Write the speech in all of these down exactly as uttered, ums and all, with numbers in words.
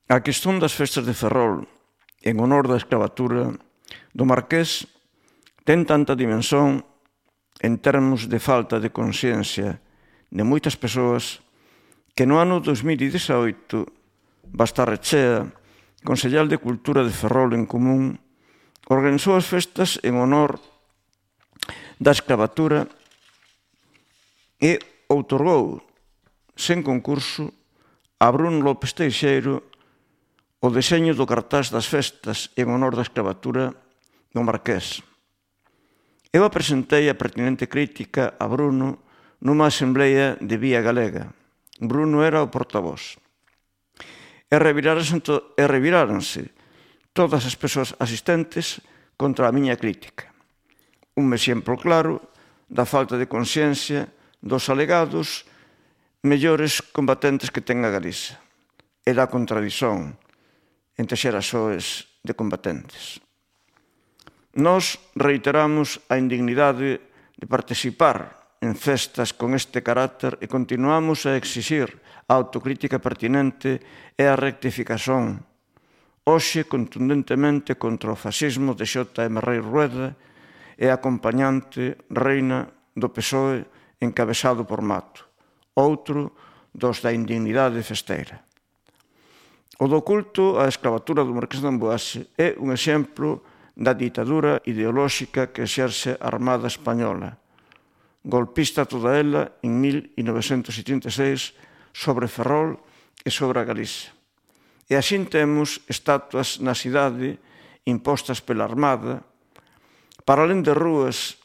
A questón das festas de Ferrol en honor da escravatura do Marqués ten tanta dimensión en termos de falta de consciencia de moitas persoas que no ano dos mil dezaoito Bastarrechea, Consellal de Cultura de Ferrol en Común, organizou as festas en honor da escravatura e outorgou, sen concurso, a Bruno López Teixeiro o deseño do cartaz das festas en honor da escravatura do Marqués. Eu apresentei a pertinente crítica a Bruno nunha asamblea de Vía Galega. Bruno era o portavoz. E reviráronse todas as persoas asistentes contra a miña crítica. Un exemplo claro da falta de consciencia dos alegados mellores combatentes que ten a Galiza e da contradición entre xerasoes de combatentes. Nós reiteramos a indignidade de participar en festas con este carácter e continuamos a exixir a autocrítica pertinente e a rectificación, hoxe contundentemente contra o fascismo de Xota M. Rei Rueda e a acompañante reina do P S O E encabezado por Mato, outro dos da indignidade festeira. O do culto á escravatura do Marqués de Amboase é un exemplo da ditadura ideolóxica que exerce a Armada Española, golpista toda ela en mil novecentos setenta e seis sobre Ferrol e sobre a Galiza. E así temos estatuas na cidade impostas pela Armada, para alén de rúas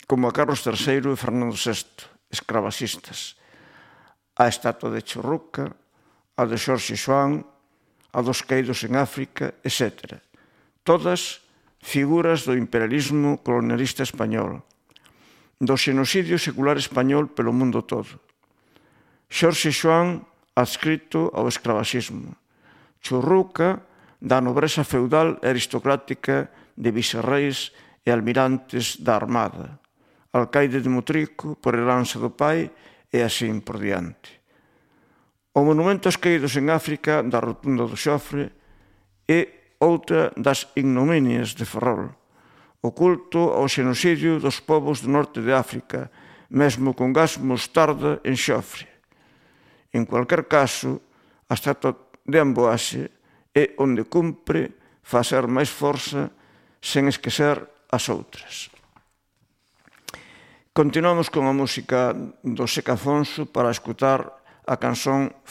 como a Carlos terceiro e Fernando sexto, escravacistas, a estatua de Churruca, a de Xorxe Xoán, a dos caídos en África, etcétera. Todas figuras do imperialismo colonialista español, do xenocidio secular español pelo mundo todo. Xorxe Xoán adscrito ao escravaxismo. Churruca da nobreza feudal e aristocrática de vicerreis e almirantes da Armada. Alcaide de Motrico por heranza do pai e así por diante. O monumento aos caídos en África da Rotunda do Xofre é outra das ignominias de Ferrol. O culto ao xenocidio dos povos do norte de África, mesmo con gas mostarda en Xofre. En cualquier caso, a estatua de Amboase é onde cumpre facer máis forza sen esquecer as outras. Continuamos con a música do Seca Afonso para escutar a canción